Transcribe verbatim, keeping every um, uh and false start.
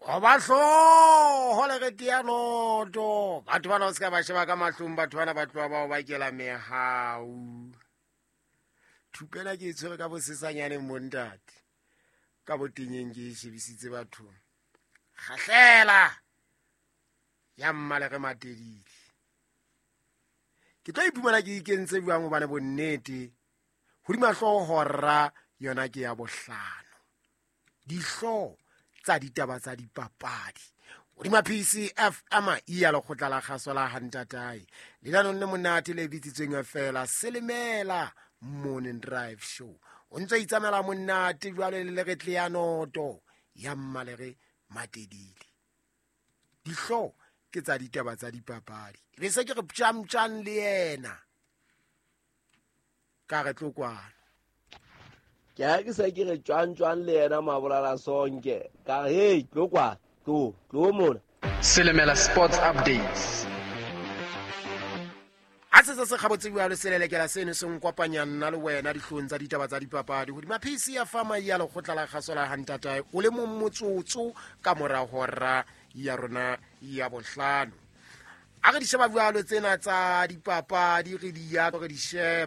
Koba hlooho le re tea noto. Batho bana o se ka ba sheba ka mahlong, batho bana ba tloha bao ba kela mehau. Thupela ke e tshwere ka bosesanyaneng bontate. Ka botenyeng ke e shebisitse bathong. Kgahlela ya mmalere matedile. Ke tlo iphumana ke ikentse jwang hobane bonnete hodima hlooho hora yona ke ya bohlano. Dihlooho tsa ditaba tsa dipapadi hodima P C F M e ya lekgotla la kgaso la Hantatae. Lenanong le monate le bitsitsweng feela Selemela Morning Drive Show. O ntso itsamela monate jwale le leretle ya noto ya mmalere matedile. Dihlooho ke tsa ditaba tsa dipapadi. Be se ke re ptjamtjang le yena. Ka re tlo kwana. Ke ha ke se ke re tjwang-tjwang le yena Mabolala Sonke. Ka re, hey, tlo kwana, tlo, tlo mona. Selemela Sports Updates. Ha se se se kgabotse jwalo selelekela seno se nkopanya nna le wena dihlong tsa ditaba tsa dipapadi hodima P C F M ya lekgotla la kgaso la Hantatae o le mong motsotso ka mora hora ya rona ya bohlano. A re di sheba jwalo tsena tsa dipapadi re di ya re di sheba.